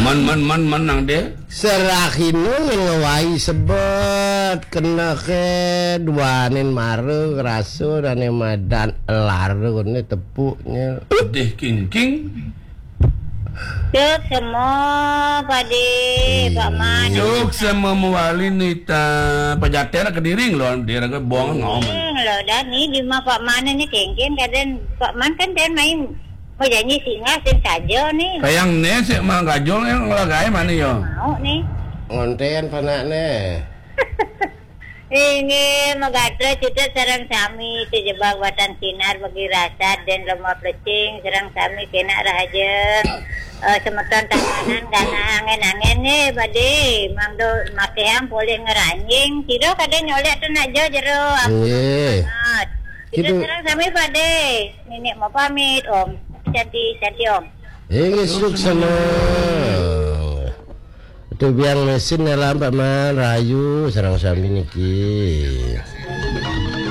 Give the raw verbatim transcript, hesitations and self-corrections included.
Man, man, man, man nang deh. Serahina ngawai sebet, kena ke duanin mara, ngerasa, dane madan lara, ne tepuknya. Deh, king, king. Cuk semua, Pade, Pak Man. Cuk semua mewali nita, pejatera ke diring lo, dia raga buang ngom. Lo, dan ni di ma Pak Man ni kengken, kadang Pak Man kan dan main mau janji singgah, sing saja ni. Kayang ne, sik mah gajol yang lagai mana yo? Mau ni. Ngonten panak ne. Inggih, magatra cita sareng sami, sejebak batan sinar bagi rasad dan lemah plecing, sareng sami kena rahaja. Eh, semeton tamanan gana angin-angin ni, Pade, mangdo makehang polih ngeranjing, sira kada nyolek tu nak jo jero. Nggih. Kita sareng sami, Pade. Nenek mau pamit, Om. Cantik, cantik, Om. Inggih, suksma. Itu biang mesin dalam Pak Man, rayu sareng sami niki.